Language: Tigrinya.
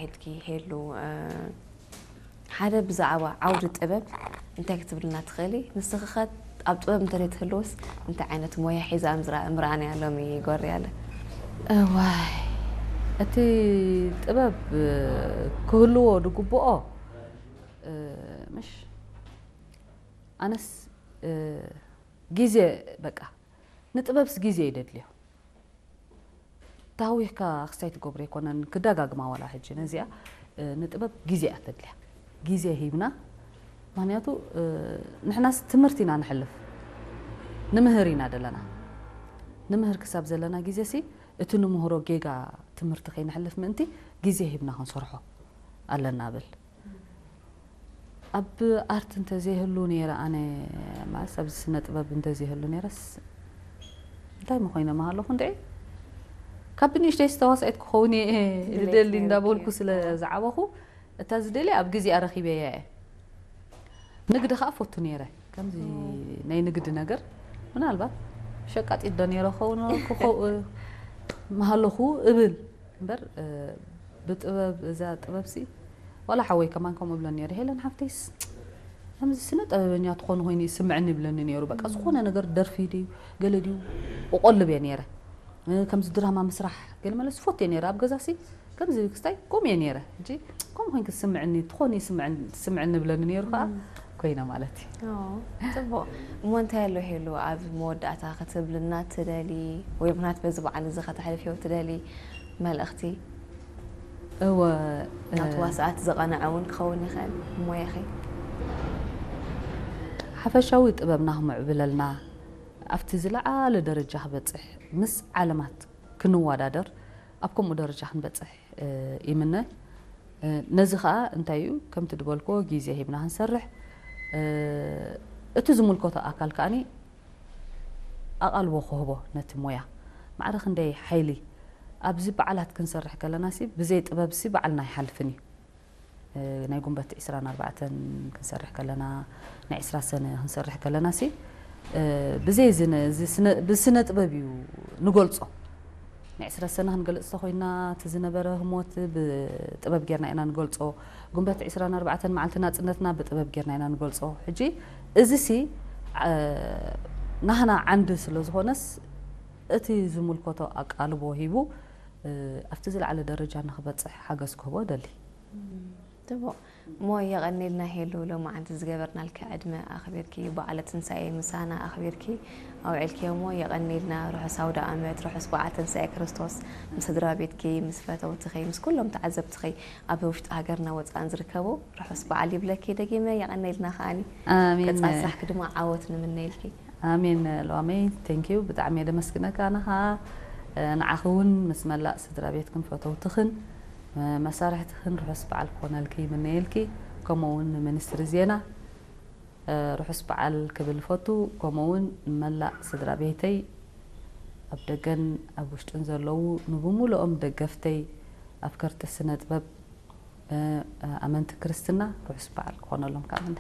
ሄድኪ ሄሉ፣ ሓደ ብዛዕባ ዓውዲ ጥበብ እንታይ ክትብልና ትኽእሊ? ንስኺ ኸ ኣብ ጥበብ እንተ ትህልውስ እንታይ ዓይነት ሞያ ሒዛ ምዝራ- ምርኣንያ ሎሚ ጎርያለ? እዋይ፣ እቲ ጥበብ ክህልዎ ዝግብኦ፣ ምሽ ኣነስ ግዜ፣ በቃ ንጥበብስ ግዜ ይደድልዮ። ታዊህካ ክስታይ ትገብሮ ኣይኮነን፣ ክደጋግማ ዋላ ሕጂ ነዚኣ። ንጥበብ ግዜ እያ ተድልያ። ግዜ ሂብና። ምክንያቱ ንሕናስ ትምህርቲ ኢና ንሕልፍ፣ ንምህር ኢና ደለና። ንምህር ክሳብ ዘለና ግዜ ሲ፣ እቲ ንምህሮ ጌጋ ትምህርቲ ከይንሕልፍ ምእንቲ ግዜ ሂብና ክንሰርሖ ኣለና ብል። ኣብ ኣርት እንተዘይህሉ ነይረ፣ ኣነ ማለት ኣብዚ ስነ ጥበብ እንተዘይህሉ ነይረስ እንታይ ምኾይነ ምሃለኹ እንድዒ። ካብ ብንእሽተይ ዝተዋሳኢት ክኸውን እየ ዝደሊ እንዳበልኩ ስለ ዝዓበኹ፣ እታ ዝደልያ ኣብ ግዜኣ ረኺበያ እየ። ንግዲ ከዓ ፈቱ ነይረ። ከምዚ ናይ ንግዲ ነገር ምናልባት ሸቃጢት ዶ ነይረ ኸውን ክኸው- ምሃለኹ እብል እምበር፣ ብጥበብ፣ እዛ ጥበብሲ ዋላ ሓወይ ከማን ከምኡ እብሎ ነይረ፣ ሄለን ሓፍተይስ ከምዚ ስነ ጥበበኛ ትኾኑ ኮይኑ ይስምዐኒ ይብለኒ ነይሩ። በቃ ዝኾነ ነገር ደርፊ ድዩ ገለ ድዩ እቆልብ እየ ነይረ። ከምዚ ድራማ ምስራሕ ገለ መለ ዝፈቱ እየ ነይረ። ኣብ ገዛሲ ከምዚ ክስታይ ከምኡ እየ ነይረ። ሕጂ ከምኡ ኮይንኪ ዝስምዐኒ ትኾኒ ይስምዐኒ- ትስምዐኒ ይብለኒ ነይሩ ከዓ ኮይነ ማለት እዩ። ጽቡቕ። እሞ እንታይ ኣሎ ሄሉ ኣብ መወዳእታ ክትብልና ትደሊ ወይ ምክንያት በዚ በዓል እዚ ከተሕልፍዮ ትደሊ መልእኽቲ? እወ፣ ናብ ተዋሳእቲ ዘቐንዐ እውን ክኸውን ይኽእል ሞያኺ። ሓፈሻዊ ጥበብና ክምዕብለልና፣ ኣብቲ ዝለዓለ ደረጃ ክበፅሕ፣ ምስ ዓለማት ክንወዳደር፣ ኣብ ከምኡ ደረጃ ክንበፅሕ ይምነ። ነዚ ከዓ እንታይ እዩ፣ ከምቲ ዝበልኮ ግዜ ሂብና ክንሰርሕ፣ እቲ ዝምልከቶ ኣካል ከዓኒ ኣቓልቦ ክህቦ ነቲ ሞያ። ማዕረ ክንደይ ሓይሊ ኣብዚ በዓላት ክንሰርሕ ከለና ሲ፣ ብዘይ ጥበብ ሲ በዓልና ኣይሓልፍን እዩ። ናይ ጉንበት ዕስራን ኣርባዕተን ክንሰርሕ ከለና፣ ናይ ዕስራ ሰነ ክንሰርሕ ከለና ሲ፣ ብዘይ ዝነ- እዚ ስነ- ብስነ ጥበብ እዩ ንገልጾ። ናይ ዕስራ ሰነ ክንገልጽ ተኮይና፣ እቲ ዝነበረ ህሞት ብጥበብ ጌርና ኢና ንገልጾ። ጉንበት ዕስራን ኣርባዕተን መዓልቲ ናጽነትና ብጥበብ ጌርና ኢና ንገልጾ። ሕጂ እዚ ሲ፣ ናህና ዓንዲ ስለ ዝኾነስ፣ እቲ ዝምልከቶ ኣቃልቦ ሂቡ ኣብቲ ዝለዓለ ደረጃ ንክበፅሕ ሓገዝ ክህቦ ደሊ። ጽቡቕ። እሞ የቐኔልና ሄሉ፣ ሎማዓንቲ ዝገበርናልኪ ዕድመ ኣኽቢርኪ፣ በዓለ ትንሳኤ ምሳና ኣኽቢርኪ ኣውዒልኪ እሞ የቐኔልና። ርሑስ ኣውደ ኣመት፣ ርሑስ በዓል ትንሳኤ ክርስቶስ ምስ ስድራ ቤትኪ፣ ምስ ፈተውትኺ፣ ምስ ኩሎም ተዓዘብትኺ ኣብ ውሽጢ ሃገርና ወፃእን ዝርከቡ ርሑስ በዓል ይብለኪ። ደጊመ የቐኔልና ከዓኒ። ኣሜን። ቀፃሊ ስራሕኪ ድማ ዓወት ንምነየልኪ። ኣሜን። ሎሚ thank you፣ ብጣዕሚ እየ ደመስግነካ። ኣነ ኸዓ ንዓኺ እውን ምስ መላእ ስድራ ቤትክን ፈተውትኽን መሳርሕትኽን ርሑስ በዓል ክኾነልኪ ይምነየልኪ። ከምኡ እውን ንሚኒስትሪ ዜና ርሑስ በዓል ክብል እፈቱ። ከምኡ እውን ንመላእ ስድራ ቤተይ ኣብ ደገን ኣብ ውሽጥን ዘለዉ ንብሙሉኦም ደገፍተይ ኣፍቀርቲ ስነ ጥበብ ኣመንቲ ክርስትና ርሑስ በዓል ክኾነሎም ከዓ ምነ።